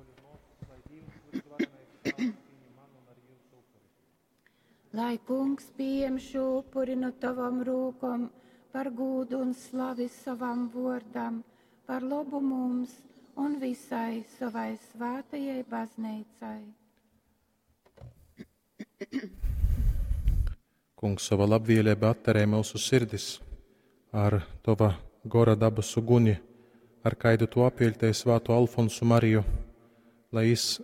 bruoļi un muosys, lai Dīvs vysvarenais Tāvs pīņem manu un arī jūsu upuri. Lai kungs pieņem šo upuri no tavam rūkom par gūdu un slavi savam vōrdam, par lobu mums un visai savai svētajai baznīcai. Kungs, sava labvēlība atterē mūsu sirdis ar tova gora dabasu guni, ar kaidu tu apviļtēji svātu Alfonsu Mariju, lai jis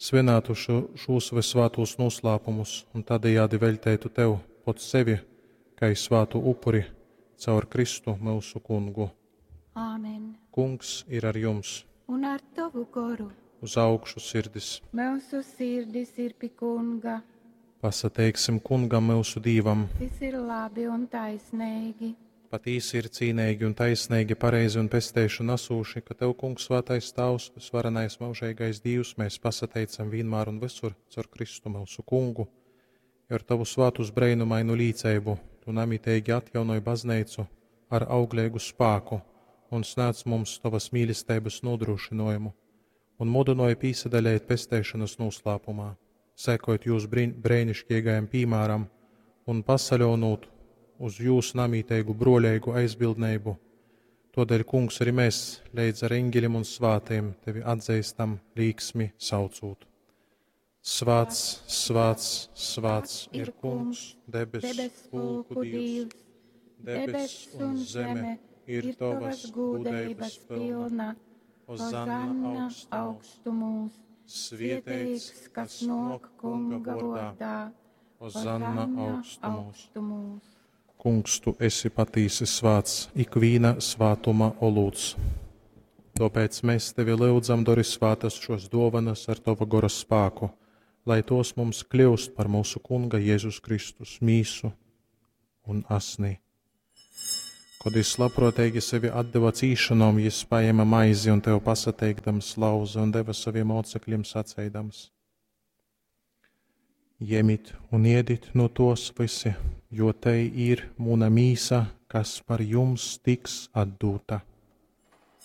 svinētu šo, šūs visvātos noslēpumus un tādējādi veltētu tev pot sevi, kā svātu upuri caur Kristu mūsu kungu. Āmen. Kungs ir ar jums, Un ar tavu goru uz augšu sirdis. mūsu sirdis ir pie kunga. Pasateiksim kungam mūsu dīvam. Tas ir labi un taisnīgi. Patīsi ir cīnīgi un taisnīgi, pareizi un pesteišu nasūši, ka Tev, Kungs, svētais Tavs, visvarenais mūžīgais Dievs, mēs pasateicam vienmēr un visur caur Kristu mūsu kungu, jo ar Tavu svātus breinumainu līdzeibu Tu namitīgi atjaunoj baznīcu ar auglīgu spāku un snāc mums Tavas mīlestības nodrošinājumu un mudināja pīsadalēt pesteišanas noslēpumā, sekojot jūs brēnišķīgajam piemēram un pasaļonot uz jūsu namīteigu broļīgu aizbildnību. Todēļ, kungs, arī mēs līdz ar eņģeļiem un svātiem tevi atzīstam līksmi saucot. Svāts, svāts, svāts ir kungs, debes, Debes pulku pulku Dievs. Dievs, Debes un zeme ir tavas gūdeibas pilna. Hozanna Hozanna augstumos. augstumos. Svietēts, kas nāk kunga vārdā. Hozanna augstumos. augstumos. Kungs, tu esi patīsi svāts, ikvīna svātuma olūts. Tāpēc mēs tevi lūdzam, dori svātas šos dovanas ar tava gora spāku, lai tos mums kļūst par mūsu kunga Jēzus Kristus mīsu un asnī. Kad jis labprātīgi sevi atdeva cīšanom, jis paēma maizi un tev pasateikdams lauza un deva saviem mocekļiem saceidams. Jemit un iedit no tos visi, jo te ir muna mīsa, kas par jums tiks atdūta.